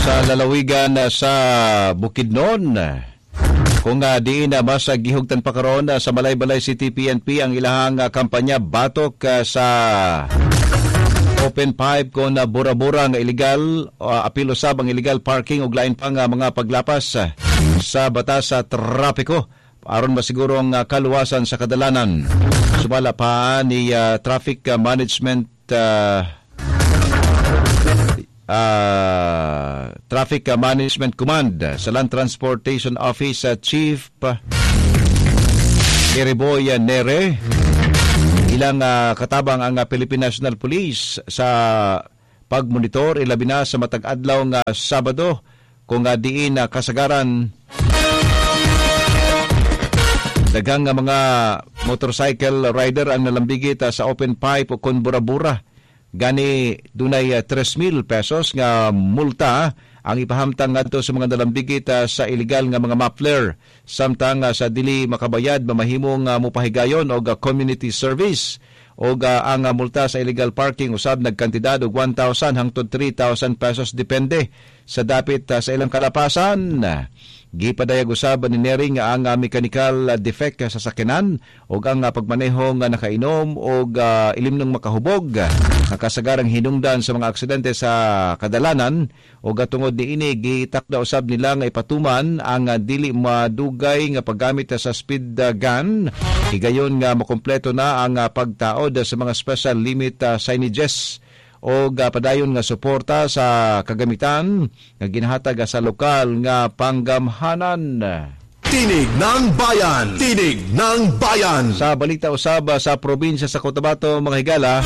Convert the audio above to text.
Sa lalawigan sa Bukidnon, kung diin na mas gihugtan pa karon sa Malaybalay City PNP ang ilahang kampanya batok sa open pipe kon bura-bura nga illegal, apil usab ang illegal parking ug lain pa nga mga paglapas sa batas sa trapiko aron masiguro ang kaluwasan sa kadalanan. Sumala pa ni Traffic Management Command sa Land Transportation Office, Chief Eriboy Nere, ilang katabang ang Philippine National Police sa pagmonitor, ilabi na sa matag adlaw nga Sabado, kung diin kasagaran daghang nga mga motorcycle rider ang nalambigit sa open pipe o kon bura-bura. Gani dunay 3,000 pesos nga multa ang ipahamtang ngadto sa mga nalambigit sa illegal nga mga muffler, samtang sa dili makabayad mamahimong mopahigayon og community service, og ang multa sa illegal parking usab nagkantidad og 1,000 hangtod 3,000 pesos, depende sa dapit sa ilang kalapasan. Gipadayag usab ni Neri nga ang mechanical defect sa sakyanan ug ang pagmaneho nga nakainom og ilimnong makahubog nga kasagarang hinungdan sa mga aksidente sa kadalanan, ug tungod niini gitakda usab nila nga ipatuman ang dili madugay nga paggamit sa speed gun higayon nga makumpleto na ang pagtaod sa mga special limit signages o padayon nga suporta sa kagamitan nga ginahatag sa lokal nga panggamhanan. Tinig ng Bayan! Tinig ng Bayan! Sa balita usab sa probinsya sa Cotabato, mga higala,